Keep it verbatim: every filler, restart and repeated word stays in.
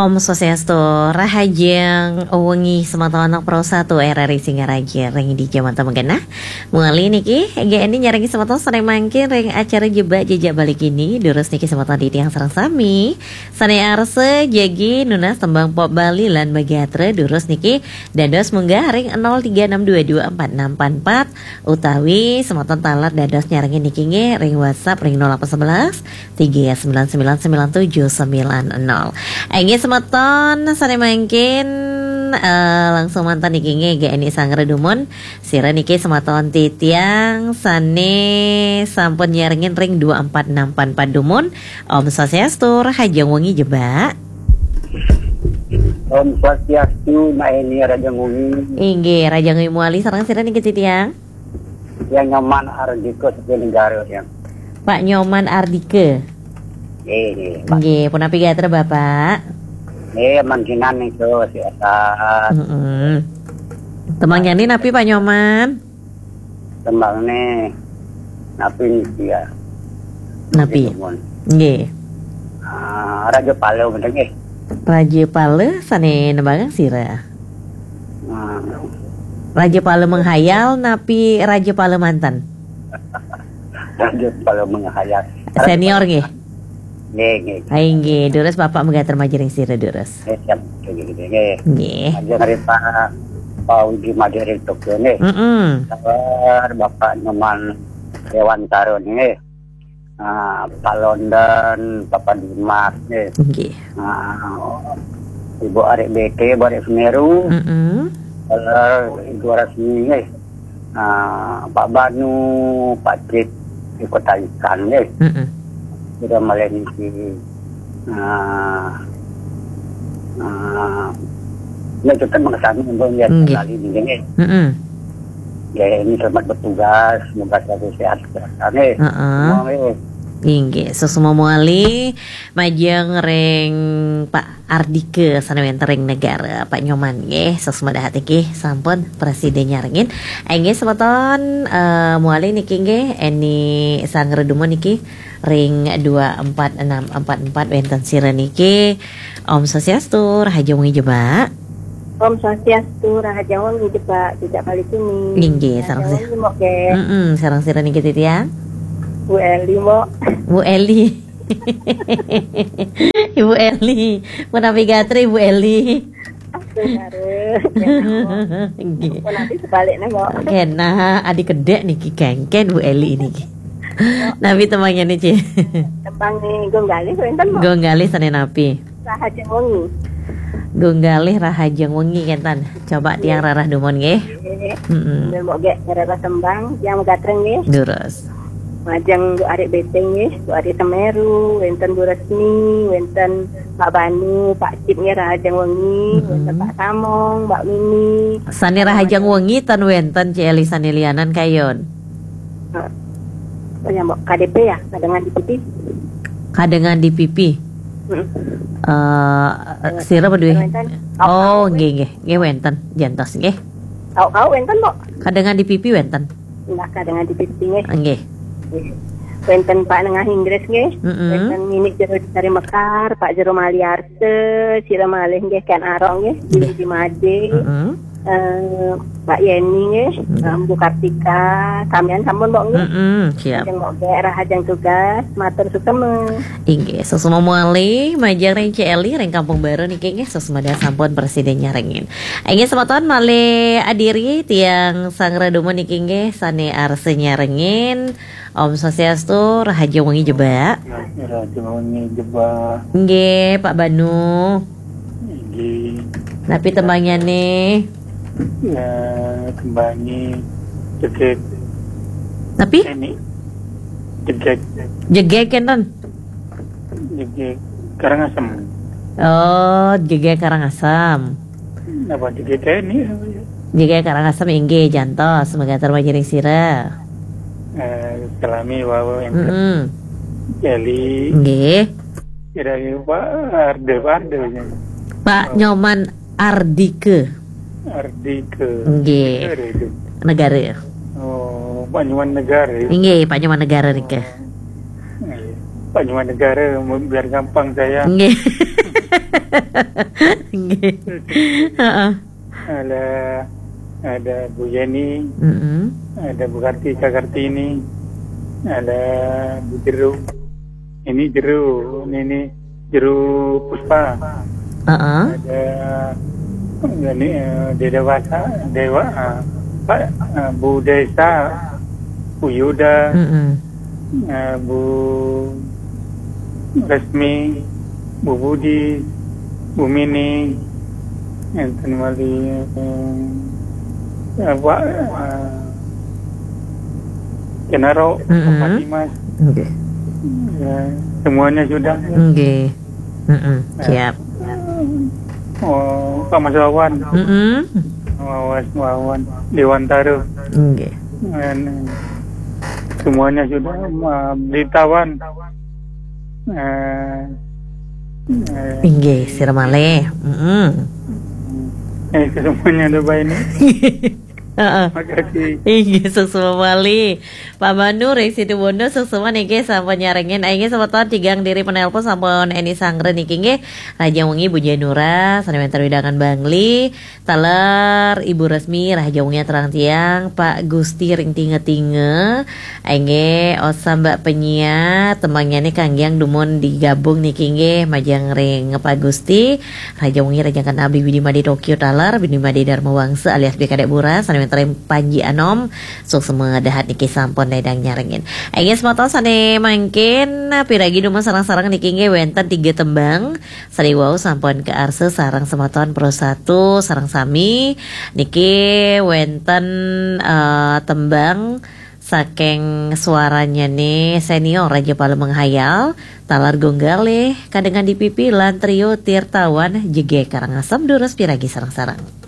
Om Swastiastu, rahajeng wengi semeton Pro satu R R I Singaraja ring dija manten genah. Muli niki, G N I nyarengin semeton sané mangkin ring acara Jebak Jejak Bali Kini, durus niki semeton titiang sareng sami. Sané arsa jagi nunas tembang pop Bali lan magatra, durus niki dados munggah ring nol tiga enam dua dua empat enam empat empat, utawi semeton taler dados nyarengin niki nggih ring WhatsApp ring nol delapan sebelas tiga sembilan sembilan sembilan tujuh sembilan nol. Inggih semeton sané mangkin, eh, langsung manten niki nggih G N I Sanggra dumun. Sira niki semeton titiang sané sampun nyarengin ring dua empat enam empat empat dumun. Om Swastiastu, rahajeng wengi Jebak. Om Swastiastu, Mak Eni, rahajeng wengi. Inggih, rahajeng wengi mawali sareng sira niki titiang. Yang Nyoman Ardika saking Negara, ya. Pak Nyoman Ardika. Nggih, nggih, Pak. Nggih, punapi gatra, Bapak? Nggih, mangkinan niku sehat. Heeh. Tembangnyané napi, Pak Nyoman? Tembangné napi niki ya? Napi? Nggih, dumun. Nggih. Ah, Raja Pala bener nggih. Raja Pala sané nembangang sira? Hmm. Raja Pala menghayal napi Raja Pala manten? Raja Pala menghayal. Senior nggih? Nggih, nggih. Ai, nggih, durus Bapak magatra majeng sira, durus. Nggih, siap. Nggih, nggih, nggih. Nggih. Majeng ring Pak, Pak Widi Madé ring Tokyo nggih. Mm-mm. Sabar Bapak Nyoman Dewantara nggih. Ah, Pak London, Papa Dimas nggih. Nggih. Ah, Ibu Arik B T, Ibu Arik Semeru. Mm-mm. Sabar Ibu Rasmi nggih. Ah, Pak Banu, Pak Cip, di Kota Ikan nggih. Mm-mm. Sudah malih niki, ah, ah, ya, tetap mengesami untuk lihat. Nggih. Kembali niki nggih. Mm-mm. Ya, ini selamat bertugas, semoga selalu sehat, sehat nggih. Heeh. Semua nggih. Inggih, suksma mawali majeng ring Pak Ardika sané wénten ring Negara, Pak Nyoman nggih, suksma dahat niki sampun prasida nyarengin. Inggih semeton, eh, mawali niki nggih, Eni Sanggra dumun niki ring dua empat enam empat empat wénten sira niki. Om Swastiastu, rahajeng wengi Jebak. Om Swastiastu, rahajeng wengi Jebak, Jejak Bali Kini. Inggih, rahajeng sareng si-, wengi, Mbok, nggih. Mm-mm, sareng sira niki titiang? Bu Eli, Mbok. Bu Eli. Ibu Eli, punapi gatra Ibu Eli? Aduh, kare. Nggih. Punapi sebaliknya, Mbok? Kénten, adi kedék niki kéngkén Bu Eli niki. Napi tembangnyané, Ci? Tembang niki Gung Galih wénten, Mbok? Gung Galih sané napi? Rahajeng wengi. Gung Galih rahajeng wengi kénten. Coba tiang rarah dumun nggih. Nggih. Mm-mm. Sambil Mbok nggih rarah tembang, tiang magatra nggih. Durus. Majeng Bu Arik B T nggih, Bu Arik Semeru, wénten Bu Resmi, wénten Pak Banu, Pak Cip nggih rahajeng wengi, wénten Pak Samong, Mbak Mimi. Sané rahajeng wengi ten wénten, Ci Eli, sané lianan kayun. Eh, oh ya, Mbok, K D P ya, Kadengan di Pipi. Kadengan di Pipi. Mm. Eh, sira apa duwe? Wénten. Oh, nggih, nggih. Nggih, wénten. Jantos nggih. Kau, kau wénten, Mbok? Kadengan di Pipi wénten. Nah, Kadengan di Pipi nggih. Nggih. Wénten Pak Nengah Inggris nggih. Mm-mm. Wénten Nini Jero dari Mekar, Pak Jero Maliarse, sira malih nggih, Ken Arok nggih, nggih. Di Made. Mm-mm. Eh, Pak Yeni nggih, mm, eh, Bu Kartika, samian sampun, Mbok, nggih. Mm-mm, siap. Lajeng Mbok nggih, rahajeng tugas, matur suksma. Inggih, suksma mawali, majeng ring Ci Eli ring Kampung Baru niki nggih, suksma dahat sampun prasida nyarengin. Inggih, semeton malih adiri tiang Sanggra dumun niki nggih, sané arsa nyarengin. Om Swastiastu, rahajeng wengi Jebak. Rahajeng wengi Jebak. Nggih, Pak Banu. Nggih. Napi tembangnyané? Ya, tembangné Jegég. Napi? Ini. Jegég. Jegég kénten? Jegég Karangasem. Oh, Jegég Karangasem. Napa Jegég ini? Jegég Karangasem inggih jantos, magatra majeng ring sira. Eh, salami wau yang Mm-mm. Eli. Nggih. Kira-kira Pak Arde, Pak Arde. Pak Nyoman Ardike. Ardike. Nggih. Negara itu. Negara. Oh, Pak Nyoman Negara. Nggih, Pak Nyoman Negara niki. Nggih. Pak Nyoman Negara, biar gampang saya. Nggih. Nggih. Heeh. Ada, ada Bu Yeni, Mm-mm. Ada Bu Karti, Kak Kartini, ada Bu Jeru. Ini Jeru, ini, ini Jeru Puspa. Heeh. Ada ini, eh, Deda Wasa, Dewa, eh, Pak, eh, Bu Desa, Bu Yuda, Mm-mm. eh, Bu Resmi, Bu Budi, Bu Mini, enten malih, eh, eh, Pak, eh, Kenaro, Mm-mm. Pak Dimas. Nggih. Ya, semuanya sudah. Nggih. Mm-mm. Ya. Siap. Oh, Pak Mas Wawan. Mm-mm. Wawan, Wawan. Dewan Taruh. Nggih. Dan, eh, semuanya sudah, eh, ditawan. Eh, eh, Inggih, sira malih. Mm-mm. Eh, semuanya ada baik ini. Heeh. Makasih. Inggih, suksma malih. Pak Manu ring Situbondo, suksma niki sampun nyarengin. Inggih, semeton tigang diri penelpon sampun eni sanggra niki nggih. Rahajeng wengi Bu Janura, sane wenten wewidangan Bangli. Taler Ibu Resmi, rahajeng wengi terang tiang, Pak Gusti ring tinga-tinga. Inggih, osah Mbak penyiar, tembangnyane kangge dumun digabung niki nggih, majeng ring Pak Gusti. Rahajeng wengi, rahajeng kenal Bini Made Tokyo taler, Bini Made Dharma Wangsa alias B Kadek Buras, sane wenten ring Panji Anom, suksma dahat niki sampun ledang nyarengin. Inggih semeton sane mangkin, piragi dumun sareng-sareng niki nggih wenten tiga tembang, sane wau sampun kaarsa sareng semeton Pro Satu, sareng sami niki wenten, eh, tembang saking suaranyane senior Raja Pala Menghayal, taler Gong Galih, Kadengan di Pipi, lan Trio Tirtawan Jegeg Karangasem, durus piragi sareng-sareng.